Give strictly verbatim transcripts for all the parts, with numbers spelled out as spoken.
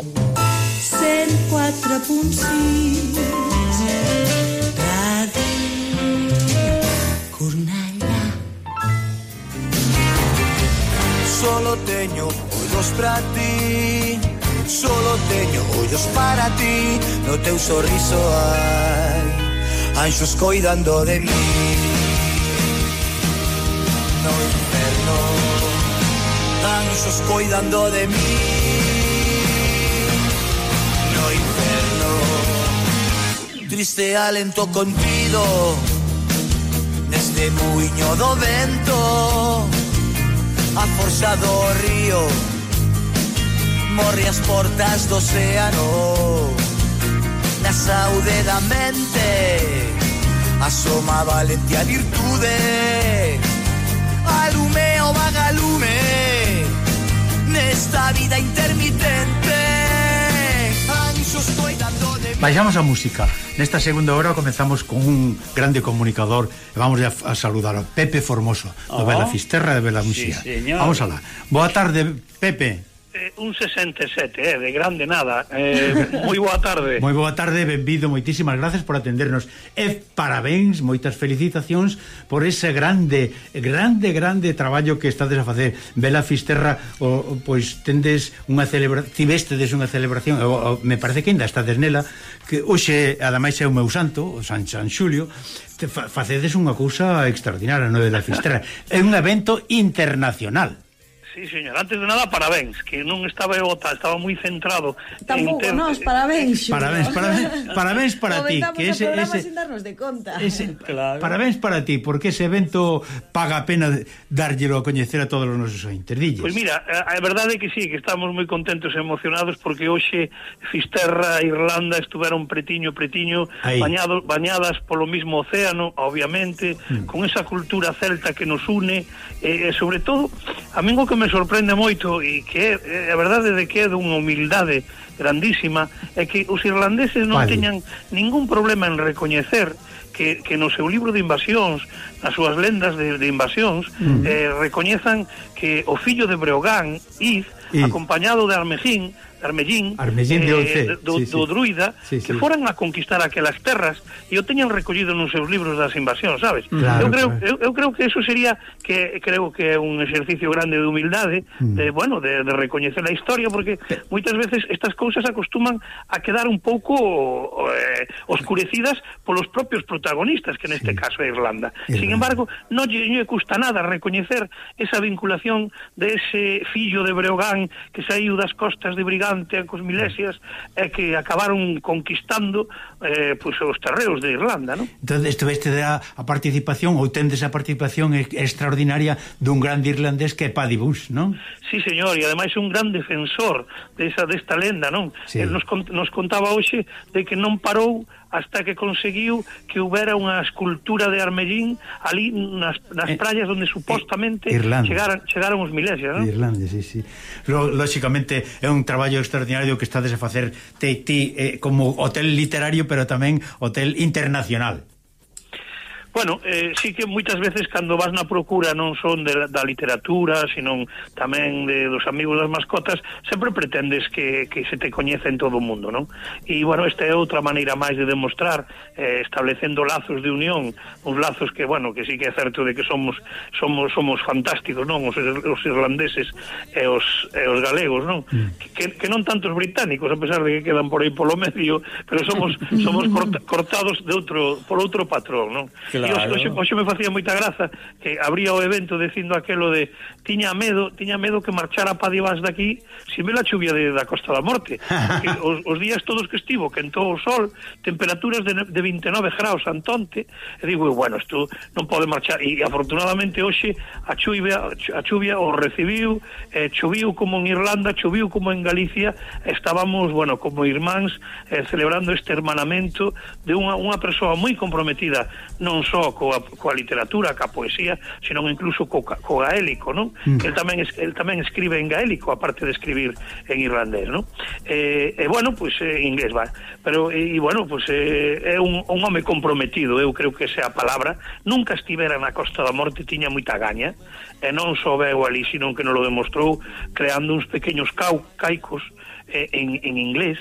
cent quatre punt sis Ràdio Cornellà. Solo teño ollos para ti, solo teño ollos para ti. No teu sorriso hai anxos coidando de mí. No inferno anxos coidando de mí. No inferno triste alento contido neste muiño do vento. A forza do río morre as portas do océano. Na saúde da mente asoma a valentía a virtude. Alume o vagalume nesta vida intermitente. Anxos coidando de mí. Baixamos a música. Nesta segunda hora comenzamos con un grande comunicador e vamos a, a saludar a Pepe Formoso, do oh, Bela Fisterra de Bela Muxía. Sí, vamos alá. Boa tarde, Pepe. Eh, un sesenta e sete, eh, de grande nada. Eh, moi boa tarde. Moi boa tarde, benvido, moitísimas gracias por atendernos. E parabéns, moitas felicitacións por ese grande, grande, grande traballo que estades a facer. Bela Fisterra, o, pois tendes unha celebración, tivestedes unha celebración, o, o, me parece que ainda estades nela, que hoxe, ademais é o meu santo, o San, San Xulio, te fa, facedes unha cousa extraordinaria no Bela Fisterra. É un evento internacional. Sí, señor, antes de nada, parabéns, que non estaba eu, estaba moi centrado. Tampouco ter... nos, parabéns, Xulio. Parabéns, parabéns, parabéns para ti, que ese ese sin darnos de conta. Ese, claro. Parabéns para ti, porque ese evento paga a pena dárllelo a coñecer a todos os nosos ointes. Dilles. Pois mira, a, a verdade é que sí, que estamos moi contentos e emocionados porque hoxe Fisterra e Irlanda estuveron pretiño, pretiño, bañado, bañadas polo mismo océano, obviamente, mm. con esa cultura celta que nos une, e, e sobre todo, a mí o que me sorprende moito e que é a verdade de que é dunha humildade grandísima é que os irlandeses non vale. teñan ningún problema en recoñecer que, que no seu libro de invasións, nas súas lendas de, de invasións, mm. eh, recoñezan que o fillo de Breogán, Id, y... acompañado de Armellín, Armellín, Armellín de Olce, eh, do, sí, sí. do druida, sí, sí. que foran a conquistar aquelas terras e o teñan recollido nos seus libros das invasións, sabes? Claro, eu creo claro. eu, eu creo que eso sería que creo que é un exercicio grande de humildade, mm. de bueno, de, de recoñecer a historia, porque moitas veces estas cousas acostuman a quedar un pouco eh, oscurecidas polos propios protagonistas, que neste sí. caso é Irlanda. Irlanda. Sin embargo, non lle, lle custa nada recoñecer esa vinculación de ese fillo de Breogán que saiu das costas de Brigante cos milesias e que acabaron conquistando eh, pues, os terreos de Irlanda, non? Entón, isto veste a, a participación ou tendes a participación extraordinaria dun grande irlandés que é Paddy Bush, non? Sí, señor, e ademais é un gran defensor desa, desta lenda, non? Sí. El nos, nos contaba hoxe de que non parou hasta que conseguiu que houbera unha escultura de Armellín ali nas, nas praias onde supostamente eh, chegaran, chegaron os milesias, non? Irlanda, sí, sí. Lóxicamente é un traballo extraordinario que estades a facer ti, ti eh, como hotel literario, pero tamén hotel internacional. Bueno, eh, sí que moitas veces cando vas na procura non son de, da literatura, sino tamén de, dos amigos das mascotas, sempre pretendes que, que se te coñece en todo o mundo, non? E, bueno, esta é outra maneira máis de demostrar, eh, establecendo lazos de unión, uns lazos que, bueno, que sí que é certo de que somos somos somos fantásticos, non? Os, os irlandeses e os, e os galegos, non? Mm. Que, que non tantos británicos, a pesar de que quedan por aí polo medio, pero somos somos corta, cortados de outro por outro patrón, non? Claro. E hoxe, hoxe me facía moita graza que abría o evento dicindo aquelo de tiña medo, tiña medo que marchara Paddy Bush daqui sin ver a chuvia de, da Costa da Morte, porque os, os días todos que estivo quentou o sol, temperaturas de, de vinte e nove graus Antonte, e digo, bueno, isto non pode marchar, e afortunadamente hoxe a chuvia a chuvia o recibiu, eh, choviu como en Irlanda, choviu como en Galicia, estábamos, bueno, como irmáns eh, celebrando este hermanamento de unha, unha persoa moi comprometida, non só coa, coa literatura, coa poesía, senón incluso co, co gaélico, non? Mm. El tamén el tamén escribe en gaélico, aparte de escribir en irlandés, non? E, eh, eh, bueno, pois pues, en inglés va. Pero e eh, bueno, pois pues, eh, é un, un home comprometido, eu creo que esa é a palabra. Nunca estivera na Costa da Morte, tiña moita gaña, e non só veu ali, senón que non lo demostrou creando uns pequenos cau, caicos eh, en, en inglés,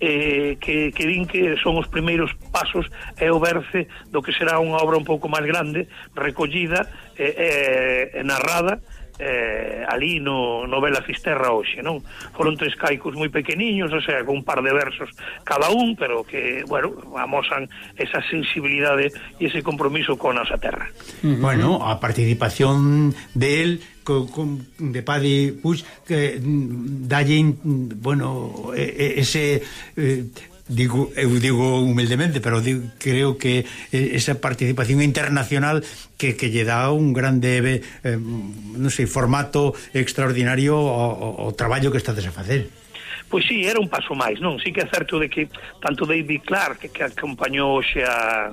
eh, que, que din que son os primeiros pasos e o berce do que será unha obra un pouco máis grande, recollida e eh, eh, narrada eh, ali no, no Vela Fisterra hoxe, non? Foron tres caicos moi pequeniños, o sea, con un par de versos cada un, pero que, bueno, amosan esa sensibilidade e ese compromiso con a nosa terra. Uh-huh. Bueno, a participación de él co, con, de Paddy Puig que dalle, bueno, ese... Eh, digo, eu digo humildemente, pero digo, creo que esa participación internacional que, que lle dá un grande eh, non sei, formato extraordinario ao, ao traballo que estades a facer. Pois sí, era un paso máis, non? Sí que é certo de que tanto David Clark, que, que acompañou hoxe a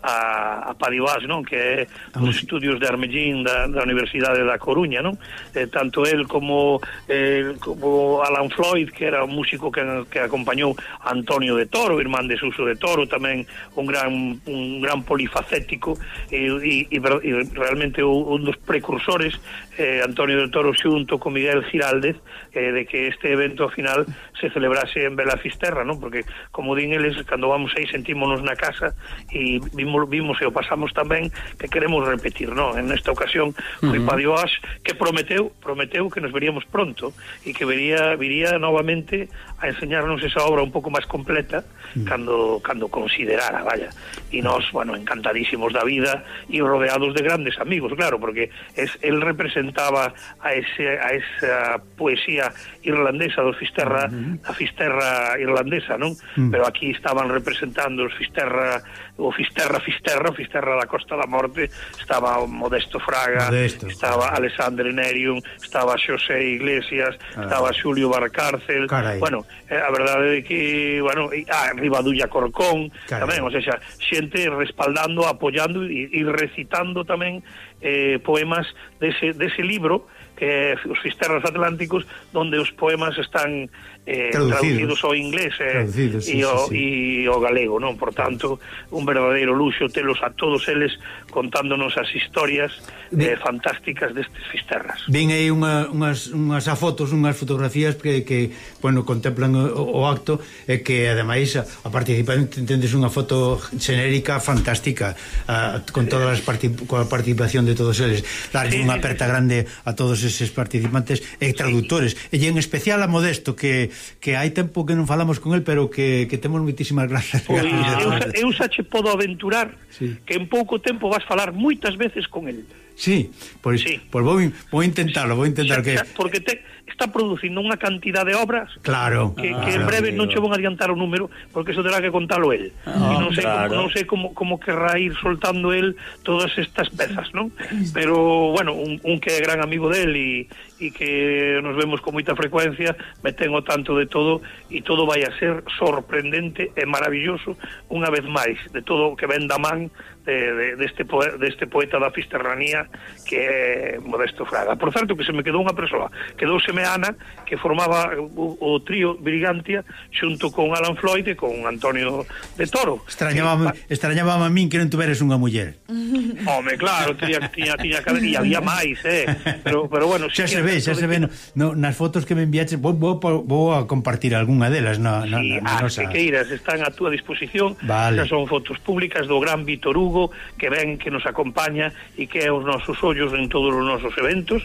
a, a Paddy Puig, non? Que é os estudios de Armellín da, da Universidade da Coruña, non? Eh, tanto el como eh, como Alan Floyd, que era un músico que, que acompañou a Antonio de Toro, irmán de Suso de Toro, tamén un gran un gran polifacético e, e, e, e realmente un dos precursores, eh, Antonio de Toro xunto con Miguel Giraldez, eh, de que este evento ao final se celebrase en Vela Fisterra, non? Porque como din eles, cando vamos aí sentímonos na casa e vimos vimos e o pasamos tamén que queremos repetir, non? En esta ocasión foi uh-huh. Paddy Puig que prometeu, prometeu que nos veríamos pronto e que vería, viría novamente a enseñarnos esa obra un pouco máis completa uh-huh. cando, cando considerara, vaya. E nós, bueno, encantadísimos da vida e rodeados de grandes amigos, claro, porque es, él representaba a, ese, a esa poesía irlandesa do Fisterra, uh-huh. a Fisterra irlandesa, non? Uh-huh. Pero aquí estaban representando os Fisterra, o Fisterra Fisterra, Fisterra da Costa da Morte, estaba Modesto Fraga, Modesto, estaba sí. Alexandre Nerium, estaba Xosé Iglesias, ah. estaba Xulio Barcárcel. Carai. Bueno, eh, a verdade é que, bueno, e, ah, Rivadulla Corcón, Carai. Tamén, o sea, xente respaldando, apoyando e, e recitando tamén eh, poemas dese, dese libro que é Os Fisterras Atlánticos, donde os poemas están eh, traducidos ao inglés eh, traducidos, sí, e, o, sí, sí. e o galego, non? Por tanto, un verdadeiro luxo telos a todos eles contándonos as historias eh, fantásticas destes Fisterras. Ven aí unha, unhas, unhas fotos, unhas fotografías que, que bueno, contemplan o, o acto e que ademais a, a participación tendes unha foto xenérica fantástica a, con todas as participacións con a participación de todos eles. Darlle sí, unha aperta sí, sí. grande a todos eses participantes e traductores. Sí. E en especial a Modesto, que, que hai tempo que non falamos con el, pero que, que temos moitísimas grazas. Pois, eu, eu xa che podo aventurar sí. que en pouco tempo vas falar moitas veces con el. Sí, pois sí. pues vou, vou intentarlo, vou intentar xa, que... Xa, porque te, está producindo unha cantidad de obras claro, que, ah, que en breve non che vou adiantar o número, porque eso terá que contalo el. Ah, e non sei, claro. como, non sei como, como querrá ir soltando el todas estas pezas, non? Pero, bueno, un, un que é gran amigo del e, e que nos vemos con moita frecuencia, me tengo tanto de todo e todo vai a ser sorprendente e maravilloso unha vez máis, de todo o que ven da man de, de, deste, poeta, deste poeta da fisterranía que é Modesto Fraga. Por certo, que se me quedou unha persoa, quedouseme Ana, que formaba o, o trío Brigantia xunto con Alan Floyd e con Antonio de Toro. Extrañaba extrañaba a min que non tuveres unha muller. Home, claro, tiña, tiña, tiña que haber, e había máis, eh. Pero, pero bueno, xa se ve, xa se ve no, no, nas fotos que me enviaches, vou, vou, vou a compartir algunha delas na, na, sí, na, na nosa. Que queiras, están a túa disposición. Vale. Xa son fotos públicas do gran Vítor Hugo, que ven, que nos acompaña e que é os nosos ollos en todos os nosos eventos,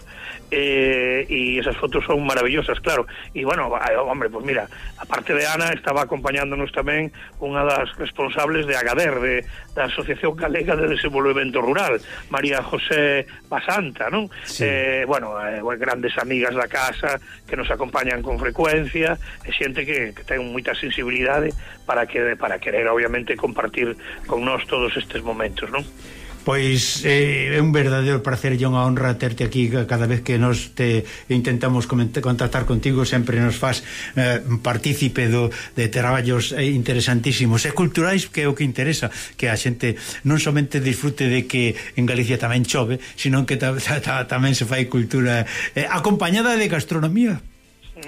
eh, e esas fotos son maravillosas, claro. E bueno, hombre, pues mira, aparte de Ana, estaba acompañándonos tamén unha das responsables de Agader, de, da Asociación Galega de Desenvolvemento Rural, María José Basanta, non? Sí. Eh, bueno, eh, grandes amigas da casa que nos acompañan con frecuencia, e xente que, que ten moita sensibilidade para que para querer obviamente compartir con nós todos estes momentos, non? Pois eh, é un verdadeiro placer e unha honra terte aquí cada vez que nos te intentamos contactar contigo, sempre nos faz eh, partícipe do, de traballos interesantísimos e culturais, que é o que interesa, que a xente non somente disfrute de que en Galicia tamén chove, sino que ta, ta, ta, tamén se fai cultura eh, acompañada de gastronomía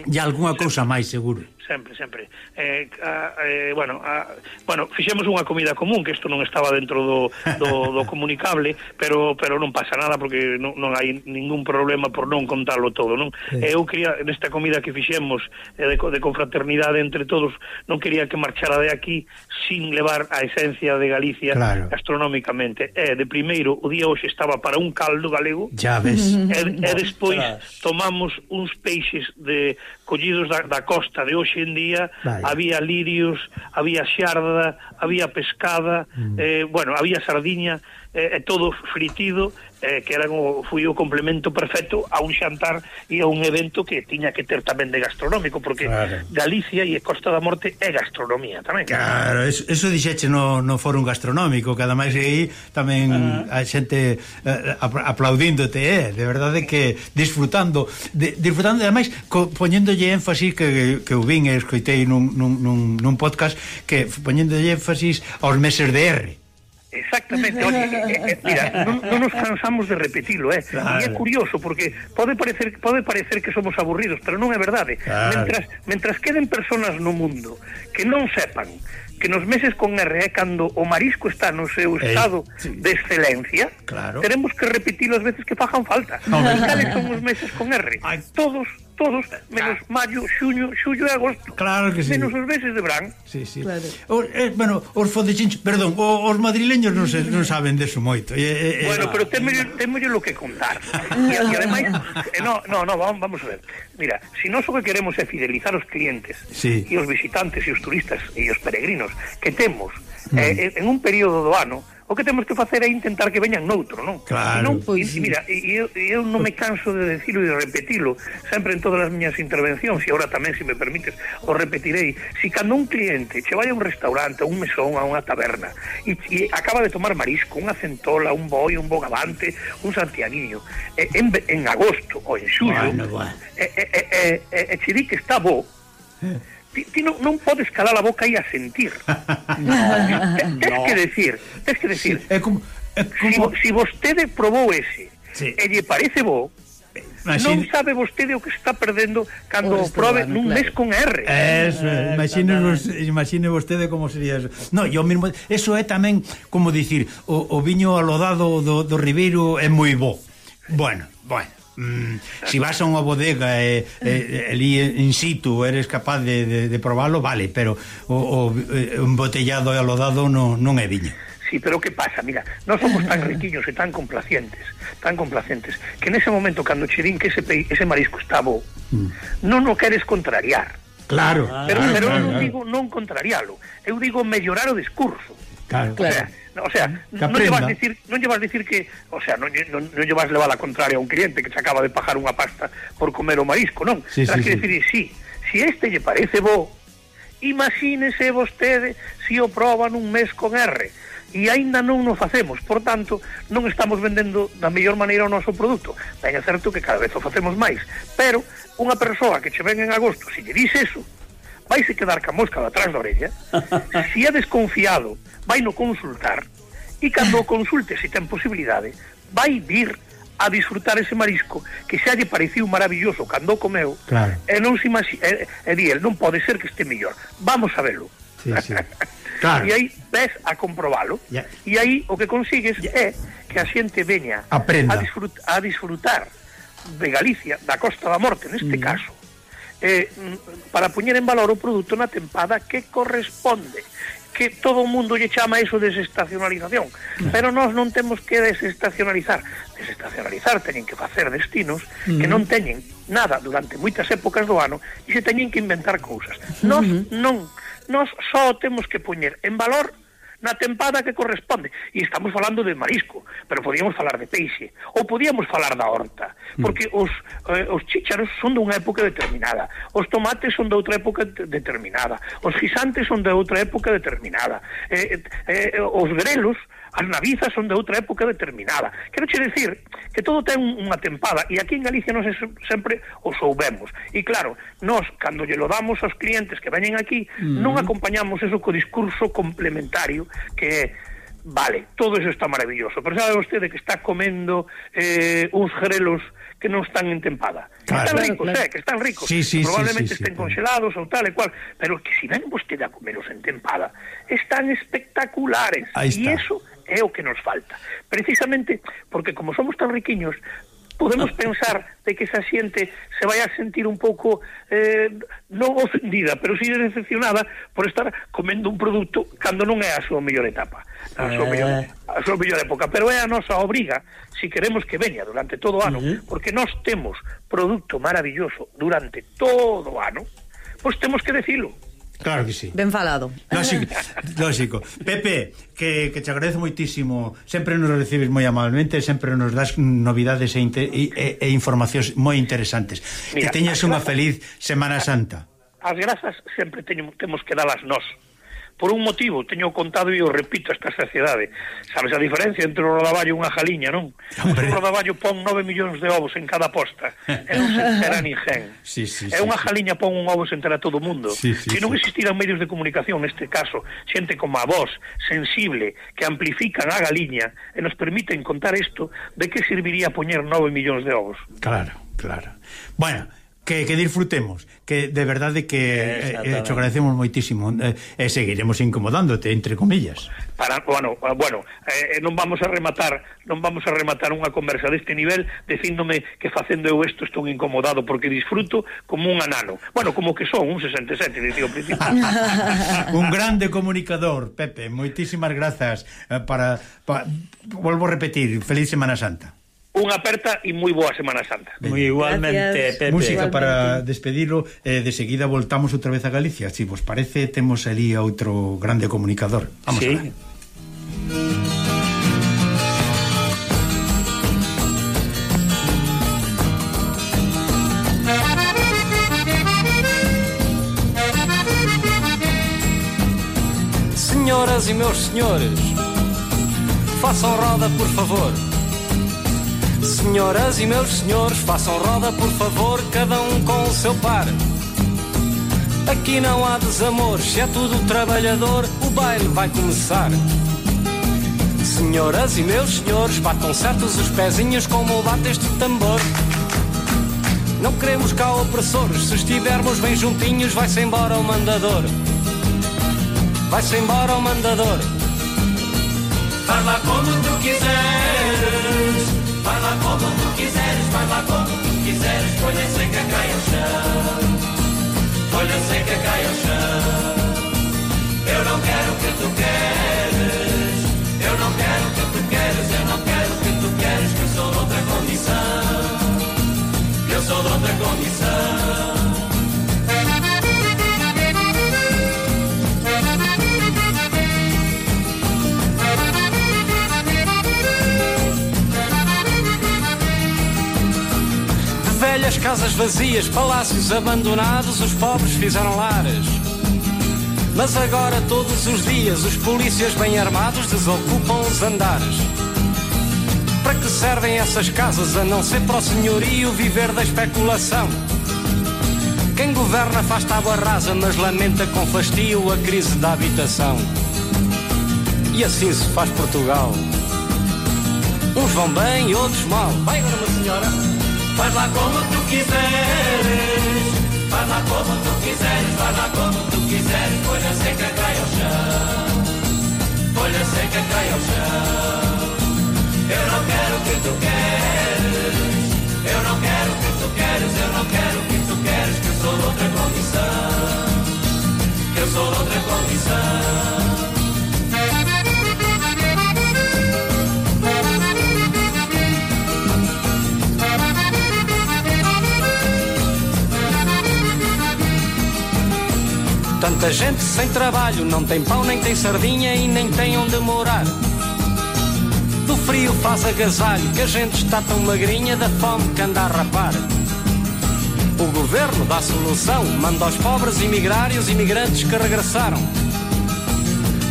e algunha cousa máis, seguro. sempre, sempre. Eh, a, eh, bueno, a, bueno, fixemos unha comida común, que isto non estaba dentro do, do, do comunicable, pero pero non pasa nada, porque non, non hai ningún problema por non contarlo todo, non? Sí. Eh, eu quería, nesta comida que fixemos eh, de, de confraternidade entre todos, non quería que marchara de aquí sin levar a esencia de Galicia, claro, gastronómicamente. E, de primeiro, o día hoxe estaba para un caldo galego, ya ves, e, e despois tomamos uns peixes de collidos da, da costa de hoxe en día. Vaya. Había lirios, había xarda, había pescada, mm. eh, bueno, había sardiña, eh, todo fritido, eh, que era como, foi o complemento perfecto a un xantar e a un evento que tiña que ter tamén de gastronómico, porque claro, Galicia e Costa da Morte é gastronomía tamén. Claro, eso, eso dixeche no, no fórum gastronómico, que ademais aí tamén uh -huh. a xente eh, aplaudíndote, eh, de verdade que disfrutando, de, disfrutando ademais co, poñéndolle énfasis que, que eu vin e escoitei nun, nun, nun, nun podcast, que poñéndolle énfasis aos meses de R. Exactamente, oye, eh, eh, mira, non, non nos cansamos de repetilo, eh. Claro. E é curioso, porque pode parecer pode parecer que somos aburridos, pero non é verdade. Claro. Mentras, mentras queden personas no mundo que non sepan que nos meses con R é cando o marisco está no seu estado eh, sí. de excelencia, claro, teremos que repetilo as veces que fajan falta. No, e cales son os meses con R? Ay. Todos, todos, menos ah. maio, xuño, xullo e agosto. Claro que sí. Menos os meses de verán. Sí, sí. Claro. O, eh, bueno, os fodechinchos, perdón, o, os madrileños non, se, non saben deso moito. Eh, eh, bueno, pero témolle lo que contar. E, e ademais, eh, no, no, no, vamos, vamos a ver. Mira, si nós o que queremos é fidelizar os clientes, sí, e os visitantes e os turistas e os peregrinos que temos mm. eh, en un período do ano, o que temos que facer é intentar que veñan noutro, non? Claro. Non, pois, e, mira, eu, eu non me canso de decirlo e de repetilo sempre en todas as miñas intervencións, e agora tamén, se me permites, o repetirei. Si cando un cliente che vai a un restaurante, a un mesón, a unha taberna, e, e acaba de tomar marisco, unha centola, un boi, un bogavante, un santiaguiño, e, en, en agosto ou en xullo, bueno, bueno. e, e, e, e, e che di que está bo, eh. Ti, ti non, non podes calar a boca e a sentir. No, tens no. que decir, tens que decir. Sí, é como, é como... Si, si vostede probou ese, sí, e lle parece bo, Imagine... non sabe vostede o que está perdendo cando o probe nun claro. mes con R. Eso, eh, imagine, vos, imagine vostede como sería eso. No, yo mismo, eso é tamén como dicir, o, o viño alodado do, do Ribeiro é moi bo. Bueno, bueno. Mm, si vas a unha bodega e eh, eh, ali in situ eres capaz de, de, de probarlo, vale, pero o, o embotellado e alodado no, non é viño. Sí, pero que pasa? Mira, non somos tan riquiños e tan complacientes, tan complacientes, que nese momento cando che din que ese, pe... ese marisco está bo, mm. non o queres contrariar. Claro. Pero, ah, pero claro, non claro. digo non contrarialo, eu digo mellorar o discurso. Claro, claro. O sea, o sea non lle vas decir, non lle vas decir que, o sea, non, non, non lle vas levar a contraria a un cliente que se acaba de pagar unha pasta por comer o marisco, non? Sí, Tras sí, que sí. decir, sí, si este lle parece bo, imagínese vostede si o proba nun mes con R, e aínda non o facemos, por tanto, non estamos vendendo da mellor maneira o noso produto. Ben, é certo que cada vez o facemos máis, pero unha persoa que che ven en agosto, se lle dice eso, vaise quedar ca mosca de atrás da orella. Si é desconfiado, vai no consultar, e cando o consulte, se ten posibilidade, vai vir a disfrutar ese marisco que xa lle pareciu maravilloso cando o comeu, claro, e non se imagi... e, e di el, non pode ser que este mellor, vamos a velo. Sí, sí. Claro. E aí ves a comprobalo, yeah. E aí o que consigues yeah. é que a xente veña a, disfrut a disfrutar de Galicia, da Costa da Morte neste mm. caso, eh, para poñer en valor o produto na tempada que corresponde, que todo o mundo lle chama eso de desestacionalización, mm. pero nós non temos que desestacionalizar. Desestacionalizar teñen que facer destinos mm. que non teñen nada durante moitas épocas do ano e se teñen que inventar cousas. Mm. Nós non, nós só temos que poñer en valor na tempada que corresponde. E estamos falando de marisco, pero podíamos falar de peixe, ou podíamos falar da horta, porque os, eh, os chícharos son dunha época determinada, os tomates son de outra época determinada, os guisantes son de outra época determinada, eh, eh, os grelos, as navizas son de outra época determinada. Quero che decir que todo ten unha tempada, e aquí en Galicia nós sempre o soubemos. E claro, nós, cando lle lo damos aos clientes que veñen aquí, mm. non acompañamos eso co discurso complementario, que é, vale, todo eso está maravilloso, pero sabe vostede que está comendo eh, uns grelos que non están en tempada. Claro. Están ricos, Claro, claro. eh, que están ricos. Sí, sí, Probablemente sí, sí, estén sí, congelados ou tal e cual, pero que si ven vostede a comelos en tempada, están espectaculares. Ahí E está. iso é o que nos falta. Precisamente porque como somos tan riquiños, podemos pensar de que esa xente se vai a sentir un pouco eh, non ofendida, pero si decepcionada por estar comendo un produto cando non é a súa mellor etapa, a súa, Eh. mellor, a súa mellor época, pero é a nosa obriga si queremos que veña durante todo o ano, uh-huh. porque nós temos produto maravilloso durante todo o ano, pois temos que decilo. Claro que sí. Ben falado. Lógico, lógico. Pepe, que, que te agradezo moitísimo. Sempre nos recibes moi amablemente, sempre nos das novidades e, e, e informacións moi interesantes. Mira, que teñas unha feliz Semana Santa. As grazas sempre teño, temos que dalas nós. Por un motivo, teño contado e o repito esta saciedade. Sabes a diferencia entre o rodaballo e unha jaliña, non? Hombre. O rodaballo pon nove millóns de ovos en cada posta e non se entera ninguén. Sí, sí, e sí, unha sí. jaliña pon un ovo se entera todo o mundo. Sí, sí, Se non sí. existiran medios de comunicación, neste caso, xente como a vos, sensible, que amplifican a galiña e nos permiten contar isto, de que serviría poñer nove millóns de ovos? Claro, claro. Bueno, que, que disfrutemos, que de verdade que eh, eh, te agradecemos moitísimo, eh, e seguiremos incomodándote, entre comillas. Para, bueno, bueno, eh, non vamos a rematar, non vamos a rematar unha conversa deste nivel dicíndome que facendo eu isto estou incomodado porque disfruto como un anano. Bueno, como que son un sesenta e sete, dicía ao principio. Un grande comunicador, Pepe, moitísimas grazas eh, para, para volvo a repetir, feliz Semana Santa. Unha aperta e moi boa Semana Santa. Moi igualmente, Gracias. Pepe. Música Igualmente. para despedirlo, eh, de seguida voltamos outra vez a Galicia. Si vos parece, temos ali a outro grande comunicador. Vamos Sí. a ver. Senhoras e meus senhores, façam roda por favor. Senhoras e meus senhores, façam roda por favor, cada um com o seu par. Aqui não há desamores, é tudo trabalhador, o baile vai começar. Senhoras e meus senhores, batam certos os pezinhos como bate este tambor. Não queremos cá opressores, se estivermos bem juntinhos vai-se embora o mandador. Vai-se embora o mandador. Vai lá como tu quiseres, vai lá como tu quiseres, vai lá como tu quiseres, folha seca cai ao chão, folha seca cai ao chão. Eu não quero o que tu queres, eu não quero o que tu queres, eu não quero o que tu queres, que eu sou de outra condição, que eu sou de outra condição. Velhas casas vazias, palácios abandonados, os pobres fizeram lares. Mas agora todos os dias os polícias bem armados desocupam os andares. Para que servem essas casas a não ser para o senhorio viver da especulação? Quem governa faz tábua rasa, mas lamenta com fastio a crise da habitação. E assim se faz Portugal. Uns vão bem e outros mal. Vai agora, uma senhora. Faz lá como tu quiseres, faz lá como tu quiseres, faz lá como tu quiseres, folha seca cai ao chão, folha seca cai ao chão. Eu não quero o que tu queres, eu não quero o que tu queres, eu não quero o que tu queres, que eu sou de outra condição, que eu sou de outra condição. Tanta gente sem trabalho, não tem pão, nem tem sardinha e nem tem onde morar. Do frio faz agasalho, que a gente está tão magrinha da fome que anda a rapar. O governo dá solução, manda aos pobres emigrar e os imigrantes que regressaram.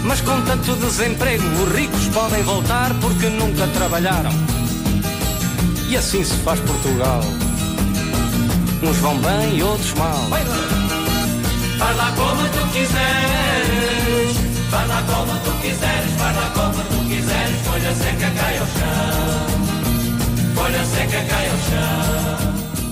Mas com tanto desemprego, os ricos podem voltar porque nunca trabalharam. E assim se faz Portugal. Uns vão bem e outros mal. Vai lá como tu quiseres, vai lá como tu quiseres, vai lá como tu quiseres, folha seca cai ao chão, folha folha seca cai ao chão.